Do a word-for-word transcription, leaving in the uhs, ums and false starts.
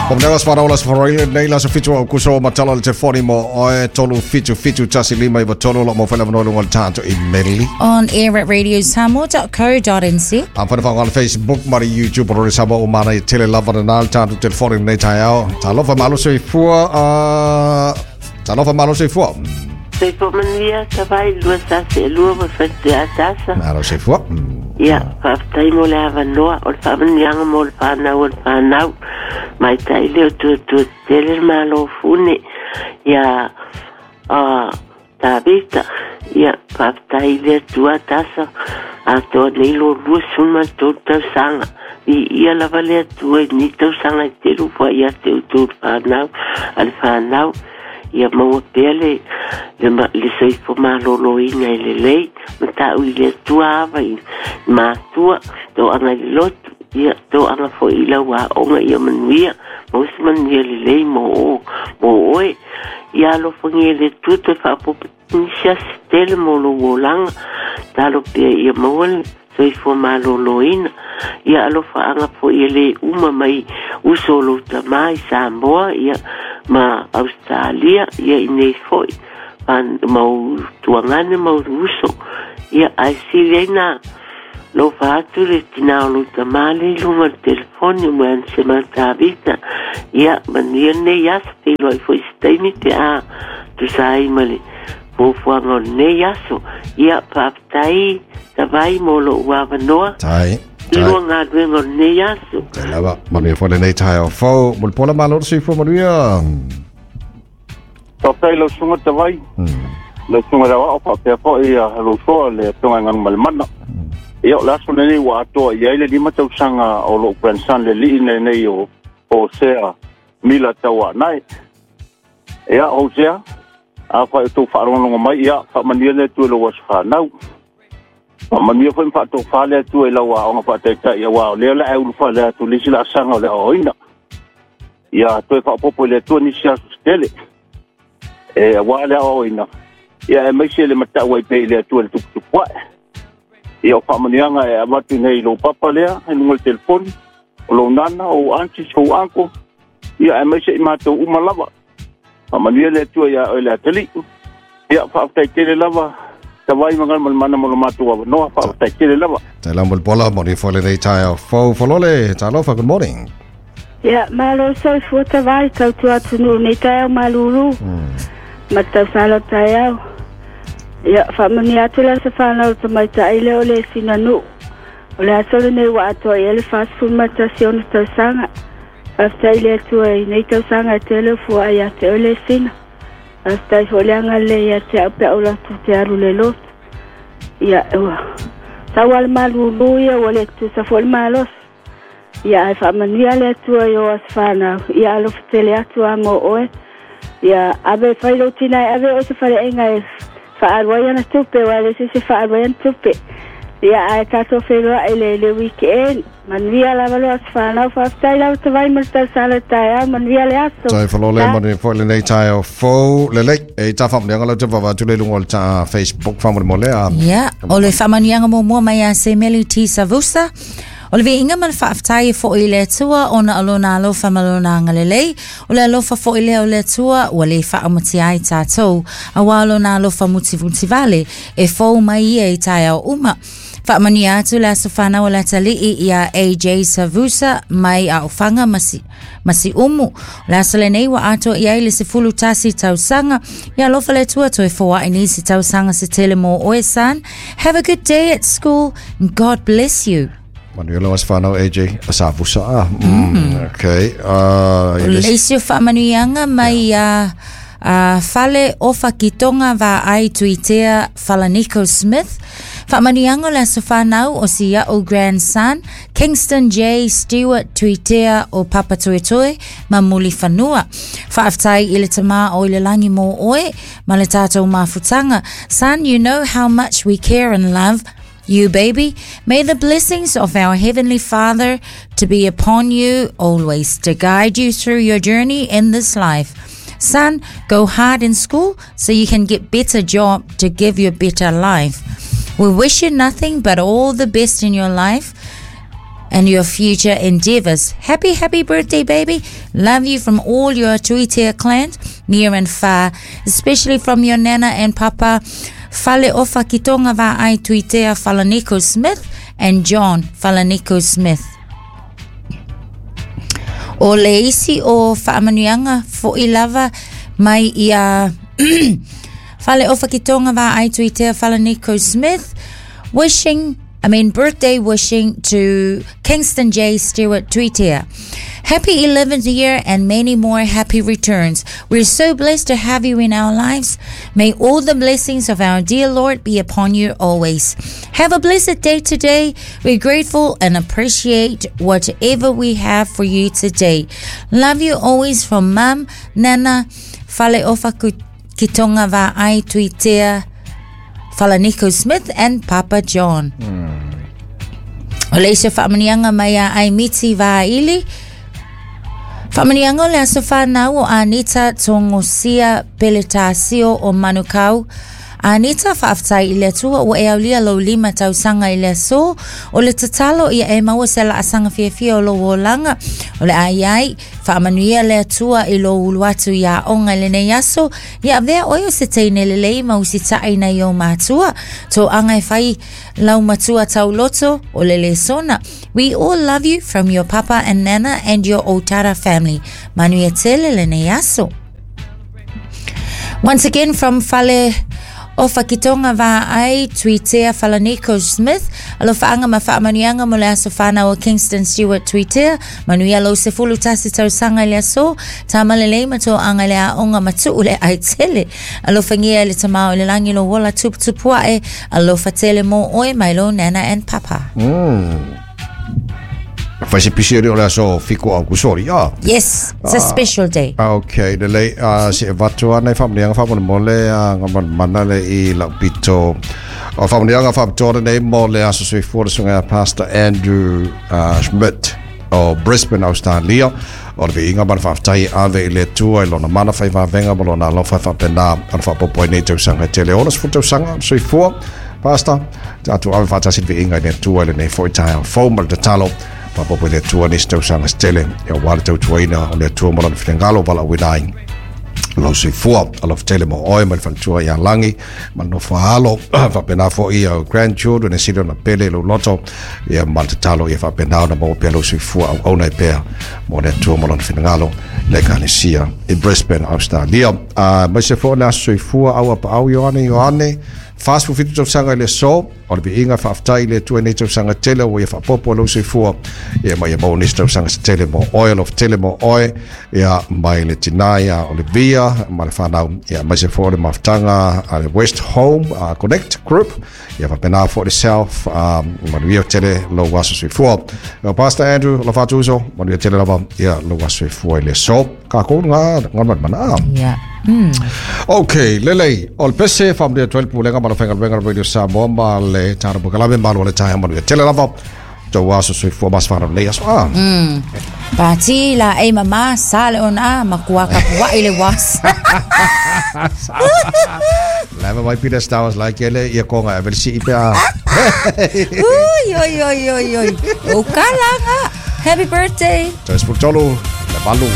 Pamdela sfara ola sfara ile nei la so fitu au kuso matala le telefoni mo oe tolu fitu fitu tasi lima iwa tolu lo mo whela vanoa lunga le tānto i meli. On air at radio samoa dot co dot n z. Am whana whango Facebook, mari YouTube, rore Samoa o mana i tele lava na nā le tānto telefoni nei tai ao. Talofa malo soifua, uh, talofa malo soifua. Soifua manuia, tawai, lua sase, lua ma whatea atasa. Malo soifua. Ia, whaaftai mo le avanoa, o le whaamanianga mo le whanau, o le whanau. Mai tai leo tua tua tele malo fune. Ia, uh, Tavita, ia, whaaftai lea tua atasa. Atoa nei lo lua suma tō tausanga. I ia lava lea tua i ni tausanga i te rufua ia te utu whanau, a le whanau. Ia maua pea le, le, le soifo maloloina i le lei, ma tau i le atua ava i mātua, tō anga i lotu, ia tō anga fo i lau aonga ia manuia, mausi manuia le lei mō o, mō oe. Ia alofangia le atua toe faapopo nisi asi tele mō lou olaga, talo pea ia maua le soifua maloloina. Ia alofaanga fo ia le uma mai uso o lou tamā i Samoa, ia ma Australia, ia i nei foi, mau tuangane, mau uso. Ia ae sili ai na lou faatu le tinā o lou tamā le i luga o le telefoni o moe ana se matavita. Ia manuia lenei aso, feiloai foi se taimi pe a tusa ai ma le fuafuaga o lenei aso. Ia faafetai tavai mo lou avanoa. Tai. Lua galuega o lenei aso. Tai lava, manuia foi lenei taeao fou. Molepola malo le soifua manuia. Faafetai lau susuga Tavai. Lau susuga Lauao faapea foi ia lou soa le afioga i Galumalemana. Ia o le aso lenei ua atoa i ai le lima tausaga o lou grandson le alii lenei o Hosea Mila Tauaanae. Ia Hosea, afai o tou faalogologo mai, ia faamanuia le Atua i lou aso fanau. Faamanuia foi ma faatofā le Atua i lau aoga faataitai, auā o lea o le a e ulufale atu le isi laasaga o le aoaoina. Ia toe faaopoopo i le Atua nisi aso se tele e auā le aoaoina, ia aemaise le matau ai pea i le Atua i le tuputupu ae. Ia o faamanuiaga e avatu nei i lou papa lea i luga o le telefoni, o lou nana, o ou aunties, o ou uncle, ia aemaise i matou uma lava. Faamanuia le Atua iā oe le atalii. Ia faafetai tele lava Tavai ma Galumalemana mo lo matou avanoa, faafetai tele lava. Tai lava molepola, manuia foi lenei taeao fou. Folole, talofa, good morning. Ia, malo soifua Tavai, tautua atunuu nei taeao malulu. Ma tausala taeao. Ia, faamanuia atu le aso fanau o le tamaitai lea o le sina nuu. O le aso lenei ua atoa i ai le fasefulu ma tasi ona tausaga. Faafetai i le Atua i nei tausaga e tele o fuaai ia te oe le sina. Faafetai foi le agalelei ia te au pe a ou latou te alu le lotu. Ia, ua sau lava le malulu ia, ua le tutusa foi le malosi. Ia, ae faamanuia le Atua i o aso fanau. Ia, alofa tele atu a mo oe. Ia, ave fai lou tina e ave oe se faleaiga e faalu ai ana tupe, aua e le se isi e faalu ai ana tupe. Ia, ae tatou feiloai le, le weekend. Manuia lava lo aso fanau. Faafetai lava Tavai mo le tausala i le taeao. Manuia le aso. Tai falole Ta. manuia foi lenei taeao fou. Lelei, e tā faamanuiaga lau te vava atu le luga o le tā Facebook faamolemole a. Ia, o le faamanuiaga muamua mai ia Semeli T. Savusa. O le viiga ma le faafetai e foi i le Atua ona o lona alofa ma lona agalelei. O le alofa foi lea o le Atua ua le faaumatia ai tātou. Auā lona alofa mutimutivale e fou mai ia i taeao uma. Faamanuia atu le aso fanau o le atalii ia A J Savusa mai Aofaga ma si, ma Siumu. O le aso lenei ua atoa i ai le sefulu tasi tausaga. Ia alofa le Atua toe foai nisi tausaga se tele mō oe, son. Have a good day at school and God bless you. Manuia lau aso fanau A J Savusa. Ah, mm, okay. Uh, O le isi o faamanuiaga mai ia uh, Fale Ofa Kitonga va ai Tuitea Falaniko Smith. Faamanuiaga o le aso fanau o si a'u grandson Kingston J. Stewart Tuitea o Papatoetoe ma Mulifanua. Faafetai i le tamā o i le langi mō oe ma le tātou mafutaga. Son, you know how much we care and love you, baby. May the blessings of our Heavenly Father to be upon you always, to guide you through your journey in this life. Son, go hard in school so you can get better job to give you a better life. We wish you nothing but all the best in your life. and your future endeavors. Happy, happy birthday, baby. Love you from all your Tuitea clan, near and far, especially from your nana and papa, Fale Ofa Kitonga Va'ai Tuitea Falaniko Smith and John Falaniko Smith. O le isi o whaamanuianga fo i lava mai ia Fale Ofa Kitonga Va'ai Tuitea Falaniko Smith, wishing, I mean birthday wishing to Kingston J. Stewart Tuitea. Happy eleventh year and many more happy returns. We're so blessed to have you in our lives. May all the blessings of our dear Lord be upon you always. Have a blessed day today. We're grateful and appreciate whatever we have for you today. Love you always from Mum, Nana, Fale Ofa Kitonga Va'ai Tuitea, Falaniko Smith and Papa John. Mm. O le isa whaamanianga mai a ai miti vāili. Whaamanianga o le aso whanau o Anita Tongosia Peletasio o Manukau. Anita whaaftai i le atua o e aulia lau lima tausanga i le aso o le tatalo ia e maua se la asanga fiafia o lo olanga o le ai ai whaamanuia le atua i lo ulu atu ia onga i lenei aso ia avea oe o se teine lelei ma usitai nei o matua tō anga e whai lau matua tauloto o le lesona. We all love you from your papa and nana and your Otara family. Manuia tele lenei aso. Once again from Fale o Whakitonga Va'ai Tuitea Falaniko Smith, alofaanga ma whaamanuianga mo le aso whanau o Kingston Stewart Tuitea, manuia lo se fulu tasi tausanga i le aso, tamalelei ma tō anga le aonga matu le ai tele, alofangia le tamao i le langi lo wola tuputupuae, alofa tele mō oe mai lo nana and papa. Mm. Fai pisi o le aso fiku au kusori, ah. Yes, it's a special day. Okay, le le uh, se vatu ana whaamanianga whaamana mo le uh, mana le i lau pito. O whaamanianga whaamatoa nei mo le aso soifua le sunga Pastor Andrew uh, Schmidt o Brisbane, Australia. O le viinga mana whaaftai ave i le tua i lona mana whai whavenga mo lona alofa whaapena ana whaapopo i nei tausanga tele. Ona sfu tausanga soifua, Pastor, tātou ave whaatasi le viinga i le tua i le nei foi tae fau ma le tatalo. Papopo le atua nisi tausanga setele ia ua le tautuaina o le atua mo lona finagalo valaauina ai lau soifua alofa tele mo oe ma le faletua ia lagi ma le nofo alo faapena foʻi au grandchildren e sili ona pele lou loto ia ma le tatalo ia faapena ona maua pea lou soifua auauna ai pea mo le atua mo lona finagalo le ekalesia i Brisbane, Australia. Uh, mai se foʻi le aso soifua au apaau Ioane Ioane Fast fufitu tausanga i le aso o le viiga faafetai i le Atua i nei tausaga tele ua ia faapopo lou soifua ia ma ia maua nisi tausaga se tele mo oe alofa tele mo oe ia mai le tinā ia Olivia ma le whanau ia mai se foʻi le mafutaga a le West Home uh, Connect Group ia faapena foʻi le South um, manuia tele lou aso soifua. Pastor Andrew alofa atu uso manuia tele lava ia lou aso soifua i le aso kākou ngā ngā mana. Yeah. Mm. Okay, lelei, o le pese whaamania twelve pulega ma le whainga Radio Samoa ma le tāna pukalame malo le taia manuia tele lava tau aso soifua mas whanau nei aso a. Mm. Pati la e mama sa le ona makua kapua i le was. Lava mai Peter Stowers like ele ia konga e velisi i pea. Ui, oi, oi, oi, oi. O kalanga. Happy birthday. Tau spuk tolu, le malu.